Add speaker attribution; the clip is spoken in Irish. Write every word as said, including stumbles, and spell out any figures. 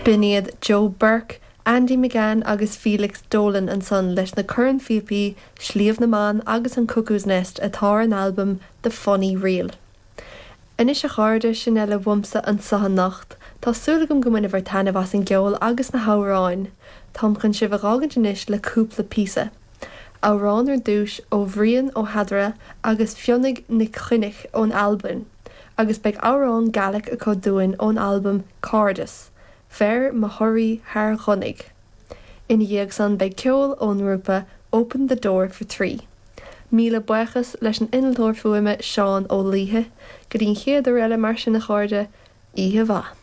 Speaker 1: B'in iad Joe Burke, Andy McGann agus Felix Dolan ansan leis na cornphíopaí Sliabh na mBan agus an Cuckoo's Nest atá ar an albam The Funny Reel. Anois a chairde sin eile uaimse anseo anocht, Tá súil agam go mbainfidh sibh taitneamh as an gceol agus na hamhráin. Táim chun sibh a fhágaint anois le cúpla píosa. Amhrán ar dtús ó Bhrian Ó hEadhra agus Fionnadh Nic Choinnich ón Albain, agus beidh amhrán Gaeilge acu dúinn ón albam Cairdeas, Bheir mo thoraí thar dhonnaigh. Ina dhiaidh san beidh ceol ón ngrúpa Open the Door for Three. Míle buíochas leis an innealtóir fuaime Seán Ó Laoithe, go dtí an chéad uair eile mar sin a chairde, oíche mhaith.